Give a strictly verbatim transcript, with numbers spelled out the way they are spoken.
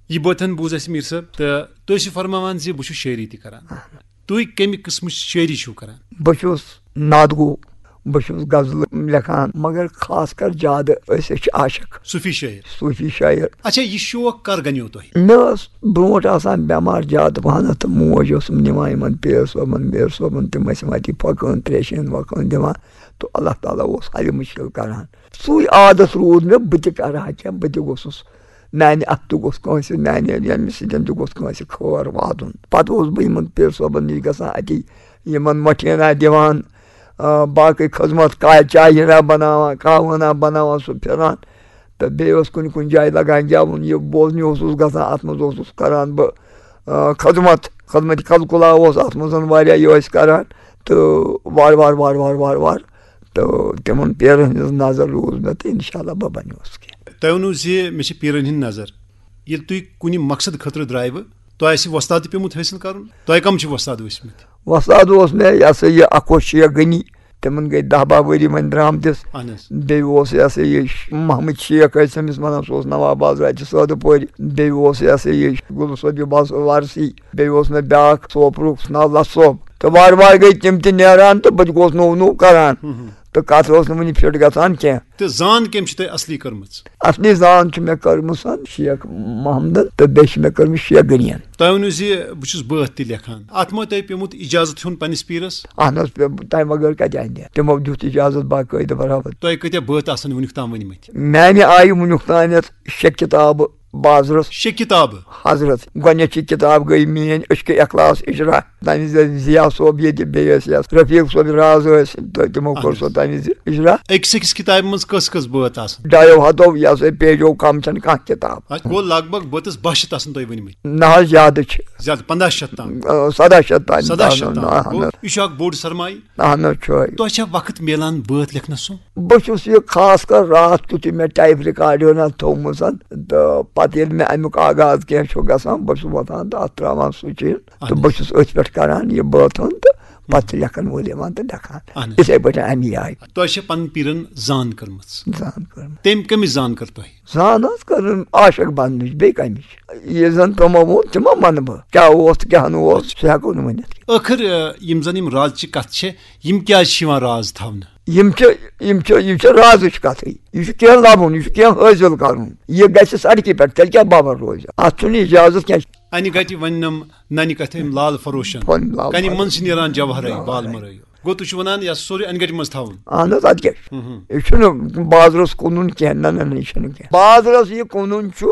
یہِ بٲتن بوٗز اَسہِ میٖر صٲب، تہٕ تُہۍ ٲسِو فرماوان زِ بہٕ چھُس شٲعری تہِ کران۔ تُہۍ کَمہِ قٕسمٕچ شٲعری چھِو کران؟ بہٕ چھُس نعت گو، بہٕ چھُس غزلہٕ لیکھان، مگر خاص کر زیادٕ أسۍ، أسۍ چھِ عاشق۔ صوٗفی شٲعر۔ صوٗفی شٲعر۔ اچھا، یہِ شوق کر گنیو تۄہہِ؟ مےٚ ٲس برونٛٹھ آسان بٮ۪مار زیادٕ پہنتھ، تہٕ موج ٲسٕم نِوان یِمن پیٖر صٲبن، میٖر صٲبن، تِم ٲسۍ یِم اَتی پھۄکہٕ ہن، تریشہِ ہن، وۄکہٕ ہن دِوان، تہٕ اللہ تعالیٰ اوس حل مُشکل کران۔ سُے عادت روٗد مےٚ، بہٕ تہِ کرٕ ہا کینٛہہ، بہٕ تہِ گوٚژھُس، میانہِ اَتھٕ تہِ گوٚژھ کٲنٛسہِ، میانہِ ییٚمہِ سۭتۍ تہِ گوٚژھ کٲنٛسہِ خٲر واتُن۔ پتہٕ اوسُس بہٕ یِمن پیٖر صٲبن نِش گژھان، اَتی یِمن مۄٹھینا دِوان، آ، باقٕے خدمت، کا-، چاے ہنا بناوان، قہوٕ ہنا بناوان، سُہ پھِران۔ تہٕ بیٚیہِ اوس کُنہِ کُنہِ جایہِ لگان گٮ۪وُن، یہِ بوزنہِ اوسُس گژھان، اَتھ منٛز اوسُس کران بہٕ، آ، خدمت، خدمت کلکلا اوس اَتھ منٛز واریاہ، یہِ ٲسۍ کران۔ تہٕ وارٕ وارٕ، وارٕ وارٕ، وارٕ وارٕ، تہٕ تِمن پیٖرن ہٕنٛز نظر روٗز مےٚ، تہٕ انشاءاللہ بہٕ بنیوس کینٛہہ۔ تۄہہِ ووٚنوُ زِ مےٚ چھِ پیٖرن ہٕنٛز نظر۔ ییٚلہِ تُہۍ کُنہِ مقصد خٲطرٕ درٛایوٕ، تۄہہِ آسہِ وۄستاد تہِ پیوٚمُت حٲصِل کرُن۔ تۄہہِ کم چھِ وۄستاد ٲسمٕتۍ؟ وۄستاد اوس مےٚ، یہِ ہسا یہِ، اکھ اوس شیخ غنی، تِمن گٔے دَہ باہ ؤری وۄنۍ درٛامتِس۔ اہن حظ۔ بیٚیہِ اوس، یہِ ہسا یہِ، محمد شیخ ٲسۍ تٔمِس ونان، سُہ اوس نواب بازرٕ اَتہِ سٲدٕ پورِ۔ بیٚیہِ اوس، یہِ ہسا یہِ، گُل صٲب، یہِ بس وارسی۔ بیٚیہِ اوس مےٚ بیٛاکھ سوپرُک، سُہ ناو لَس صٲب۔ تہٕ وارٕ وارٕ گٔے تِم تہِ نیران، تہٕ بہٕ تہِ گوس نوٚو نوٚو کران۔ ہُم ہُم۔ تہٕ کَتھ ٲس نہٕ وُنہِ فِٹ گژھان کینٛہہ۔ تہٕ زان کٔمۍ چھِ تۄہہِ اصلی کٔرمٕژ؟ اصلی زان چھِ مےٚ کٔرمٕژ شیخ محمدن، تہٕ بیٚیہِ چھِ مےٚ کٔرمٕژ شیخ غنین۔ تۄہہِ ؤنِو زِ بہٕ چھُس بٲتھ تہِ لیکھان۔ اَتھ ما تۄہہِ پیوٚمُت اِجازت ہیوٚن پنٛنِس پیٖرَس؟ اَہن حظ، پے-، تَمہِ بغٲر کَتہِ اَندِ ہا؟ تِمو دیُت اِجازت باقٲعدٕ برابر۔ تۄہہِ کۭتیٛاہ بٲتھ آسَن وٕنیُک تام ؤنۍمٕتۍ؟ میٛانہِ آیہِ وٕنیُک تام یَتھ شےٚ کِتابہٕ بازرَس۔ شےٚ کِتابہٕ؟ حضرت، گۄڈٕنِچی کِتاب گٔے میٛٲنۍ عشق اخلاص اجرا، تَمہِ وِزِ ٲسۍ ضیا صٲب ییٚتہِ، بیٚیہِ ٲسۍ یَتھ رفیق صٲب راز ٲسۍ، تہٕ تِمو کٔر اہن سۄ حظ۔ تَمہِ وِزِ اجرا۔ أکِس أکِس کِتابہِ منٛز کٔژ کٔژ بٲتھ آسان؟ ڈایو ہَتو، یہِ ہسا پیجو کم چھَنہٕ کانٛہہ کِتاب۔ اَتھ گوٚو لگ بگ بٲتَس باہ شیٚتھ آسان تۄہہِ ؤنۍمٕتۍ۔ نہ حظ، زیادٕ چھِ۔ زیادٕ، پنٛداہ شیٚتھ تام۔ آ، سَداہ شیٚتھ تام۔ سَداہ شیٚتھ تام۔ اہن گوٚو، حظ۔ یہِ چھُ اکھ بوٚڑ سرمایہِ۔ اہن حظ، چھُ۔ تۄہہِ چھا وقت میلان بٲتھ لیکھنَس سُم؟ بہٕ چھُس یہِ خاص کر راتھ کیُتھ یہِ مےٚ ٹیپ ریکارڈ ہنا تھوٚومُت، تہٕ پتہٕ ییٚلہِ مےٚ اَمیُک آغاز کینٛہہ چھُ گژھان، بہٕ چھُس وۄتھان تہٕ اَتھ ترٛاوان سُچ اِن۔ تہٕ اہن بہٕ حظ۔ چھُس أتھۍ پٮ۪ٹھ کران یہِ بٲتھ ہُن، تہٕ پتہٕ چھِ لیکھن وول یِوان تہٕ لیکھان۔ اہن حظ۔ یِتھَے پٲٹھۍ اَمی آیہِ۔ تۄہہِ چھےٚ پنٕنۍ پیٖرن زان کٔرمٕژ؟ زان کٔرمٕژ۔ تٔمۍ کٔمِچ زان کٔر تۄہہِ؟ زان حظ کٔرٕن عاشق بننٕچ، بیٚیہِ کَمِچ؟ یہِ زن تِمو ووٚن، تِمو منہٕ بہٕ۔ کیٛاہ اوس تہٕ کیٛاہ نہٕ اوس، سُہ ہٮ۪کو نہٕ ؤنِتھ۔ ٲخٕر، آ، یِم زن یِم رازچہِ کتھٕ چھِ، یِم کیٛازِ چھِ یِوان راز تھاونہٕ؟ یِم چھِ، یِم چھِ، یِم چھِ رازٕچ کتھٕے۔ یہِ چھُ کینٛہہ لبُن، یہِ چھُ کینٛہہ حٲصِل کرُن۔ یہِ گژھِ سڑکہِ پٮ۪ٹھ، تیٚلہِ کیٛاہ باور روزِ؟ اتھ چھُنہٕ اجازت کینٛہہ۔ انہِ گٹہِ وننم ننہِ کتھِ أمۍ لال فروشن۔ پنٕنۍ لال کنہِ فروشن۔ منٛز چھِ نیران جوہرے، جوہرے۔ بال مرٲیو۔ گوٚو تُہۍ چھِو ونان یہِ سورُے انہِ گٹہِ منٛز تھاوُن؟ اہن حظ، ادٕ کیٛاہ چھُ؟ ہُم ہُم۔ یہِ چھُنہٕ بازرس کُنُن کینٛہہ، نہ، نہ، نہ، یہِ چھُنہٕ کینٛہہ۔ بازرس یہِ کُنُن چھُ،